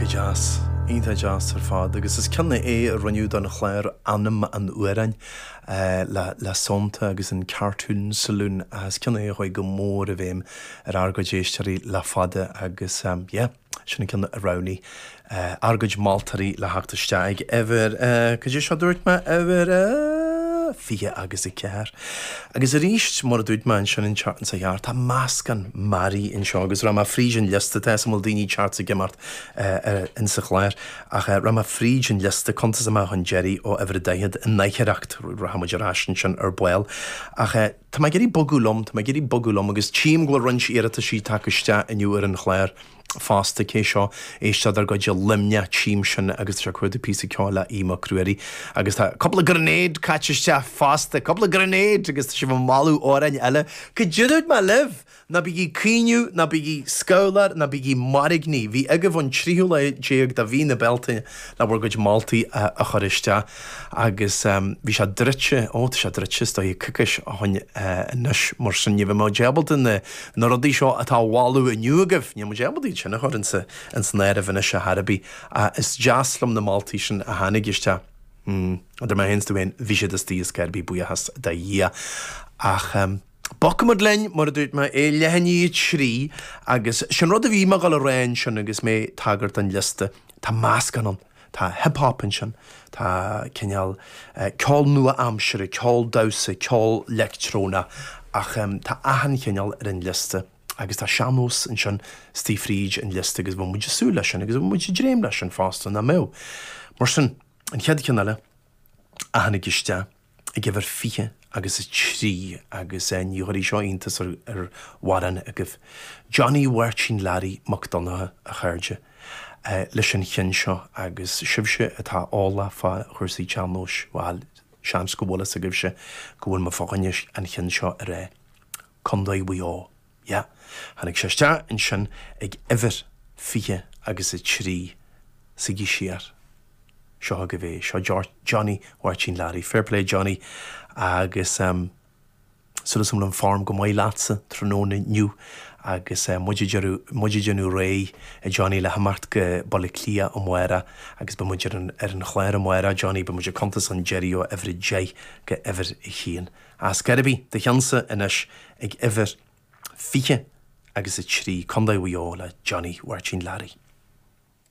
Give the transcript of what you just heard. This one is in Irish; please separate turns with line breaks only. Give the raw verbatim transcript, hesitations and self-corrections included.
Iontach deas, iontach deas ar fad, agus is ceann é a rinneadh don chlár Anam an Fhuaráin le le Sonnta agus an Cartoon Saloon is ceann é a chuaigh go mór i bhfeidhm ar ár gcuid éisteoirí le fada agus yeah, sin an ceann a roghnaigh ár gcuid moltóirí le theacht isteach ag uimhir cad é seo dúirt mé uimhir fiche agus a ceathair. Agus arís mar a dúirt mé ansin an tseachtain seo chuaigh thart, tá meascán mearaí anseo agus rachaidh mé fríd an liosta tá an bhfuil daoine teacht ag imeacht insa chlár ach rachaidh mé fríd an liosta cuntas amach chun deiridh ó uimhir a daichead i ndaicheacht rachaidh muid ar ais ansin ar ball ach tá mé ag iarraidh bogadh liom, tá mé ag iarraidh bogadh liom agus tchím go bhfuil roinnt iarrataisí tagtha isteach inniu ar an chlár fosta cé seo éisteoir dár gcuid i Luimneach tchím sin agus tá sé ag cuardach píosa ceoil le Aodh Mac Ruairí agus tá cúpla grenade caite isteach fosta, cúpla grenade agus tá sibh ag moladh amhráin eile. Cad é dúirt mé libh! Ná bígí ag caoineadh, ná bígí scamhlar, ná bígí mairgní. Bhí agaibh an tríú lá déag de mhí na Bealtaine le bhur gcuid moltaí a chur isteach agus bhí sé druidte, ó tá sé druidte is dóigh coicís ó shin anois mar sin ní bheidh muid ábalta na na rudaí seo atá á mholadh inniu agaibh, níl muid ábalta iad sin a chur insa insan áireamh anois ar chor ar bith. Is deas liom na moltaí sin a tháinig isteach. Idir mé féin is tú féin, bhí siad istigh ar chor ar bith buíochas do Dhia. Ach bogfaimid linn, mar a dúirt mé, é leath i ndiaidh a trí agus sin rud a bhí mé ag dul a rá ansin agus mé ag tagairt don liosta, tá meascán ann, tá hip hop ansin, tá cineál ceol nua-aimseartha, ceol damhsa, ceol leictreonach ach tá achan chineál ar an liosta agus tá sean-nós ansin istigh fríd an liosta agus bhí muid ag súil leis sin agus bhí muid ag dréim leis sin fosta, nach mbeadh? Mar sin, an chéad cheann eile a tháinig isteach ag uimhir fiche agus a trí agus ní chuirfidh seo iontas ar ar mhórán agaibh. Johnny Mháirtín Learaí Mac Donncha, a chairde, leis an cheann seo agus sibhse atá eolach fá chúrsaí tsean-nóis, bhuel, seans go bhfuil fhios agaibhse go bhfuil mé fá choinne an chinn seo a rá. Contae Mhaigh Eo. Yeah. Tháinig sé isteach ansin ag uimhir fiche agus a trí. Suígí siar. Seo agaibh é. Seo Johnny Mháirtín Learaí. Fair play Johnny agus um, súil agam go bhfuil an form go maith leatsa tráthnóna inniu agus eh, muid ag déanamh muid ag déanamh réidh a Johnny le himeacht go Baile Átha Cliath amárach agus beidh muid ar an ar an chlár amárach Johnny beidh muid ag cuntas an deiridh ó uimhir a deich go uimhir a haon. As Geirby do cheannsa anois ag uimhir fiche agus a trí, Contae Mhaigh Eo le Johnny Mháirtín Learaí.